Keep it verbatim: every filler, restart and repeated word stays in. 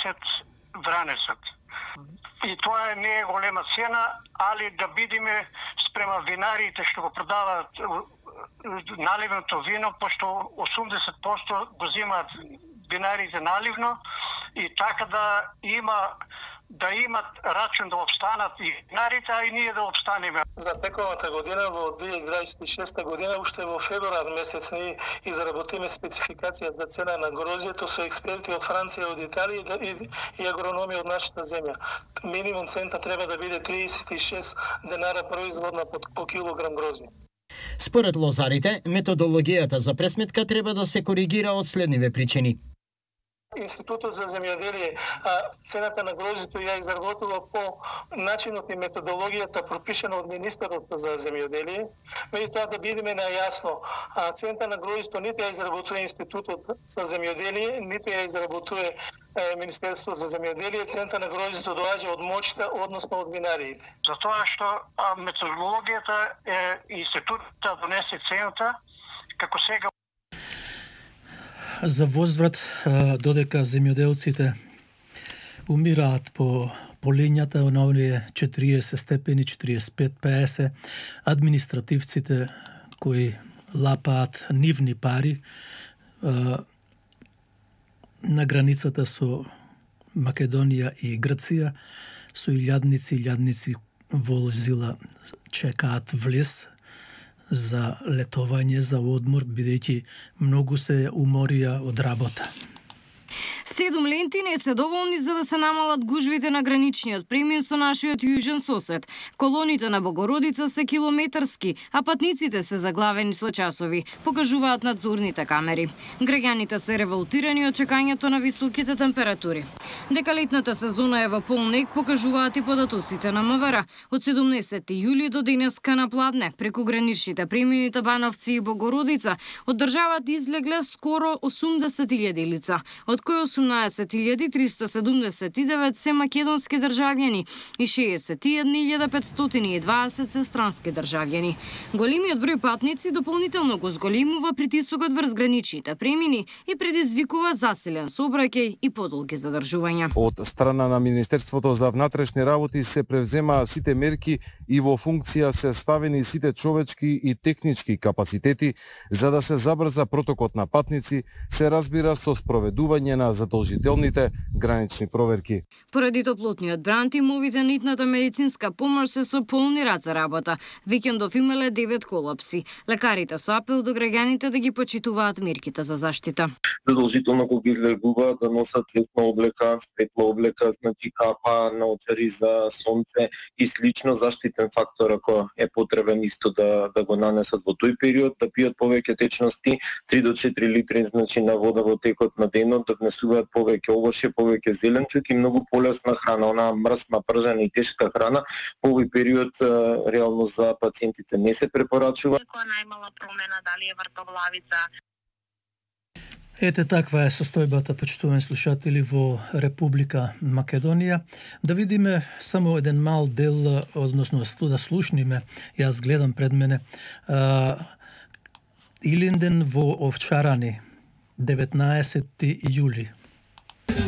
десет вранецот. И тоа не е голема цена, али да бидеме спрема винарите што го продаваат наливното вино, пошто осумдесет проценти го земаат винарите наливно, и така да има да имат рачун да обстанат и винарите, а и ние да обстанеме. За тековата година, во две илјади дваесет и шеста година, уште во февруар месец ние изработиме спецификација за цена на грозјето со експерти од Франција, од Италија и, и агрономи од нашата земја. Минимум цента треба да биде триесет и шест денара производна по, по килограм грозје. Според лозарите, методологијата за пресметка треба да се коригира од следниве причини. Институтот за земјоделие цената на грозјето ја изработува по начинот и методологијата пропишана од министерот за земјоделие. Меѓутоа да бидеме најасно, цената на грозјето ниту ја изработува Институтот за земјоделие, ниту ја изработува Министерството за земјоделие. Цената на грозјето доаѓа од моќта, односно од винариите. Затоа што методологијата е институтот да донесе цената, како сега. За возврат, додека земјоделците умираат по полињата на оние четириесет степени, четириесет и пет петдесет, административците кои лапаат нивни пари на границата со Македонија и Грција, со илјадници, илјадници возила чекаат влез за летовање, за одмор, бидејќи многу се уморија од работа. Седум ленти не се доволни за да се намалат гужвите на граничниот премин со нашиот јужен сосед. Колоните на Богородица се километарски, а патниците се заглавени со часови, покажуваат надзорните камери. Граѓаните се револтирани од чекањето на високите температури. Дека летната сезона е во полнек, покажуваат и податоците на МВР. Од седумдесети јули до денеска на Пладне, преку граничните премини Бановци и Богородица, од државата излегле скоро осумдесет илјади лица, од кои осумнаесет илјади триста седумдесет и девет се македонски државјани и шеесет и една илјада петстотини и дваесет се странски државјани. Големиот број патници дополнително го зголемува притисокот врз граничните премини и предизвикува засилен сообраќај и подолги задржувања. Од страна на Министерството за внатрешни работи се превземаат сите мерки и во функција се ставени сите човечки и технички капацитети за да се забрза протокот на патници, се разбира со спроведување на задолжителните гранични проверки. Поради топлотниот бран, тимовите на итната медицинска помош се со полни рад за работа. Викендов имале девет колапси. Лекарите со апел до граѓаните да ги почитуваат мерките за заштита. Задолжително кога излегува да носат летна облека, светла облека, значи капа, наочари за сонце и слично заштитен фактор ако е потребен исто да да го нанесат во тој период, да пијат повеќе течности, три до четири литри значи на вода во текот на денот, да внесуваат повеќе овошје, повеќе зеленчук и многу полесна храна, онаа мрсна, пржена и тешка храна. Во овој период реално за пациентите не се препорачува. Која најмала промена, дали е вртовлавица. Ете таква е состојбата, почитувани слушатели, во Република Македонија. Да видиме само еден мал дел, односно да слушниме, јас гледам пред мене, а, Илинден во Овчарани, деветнаесети јули.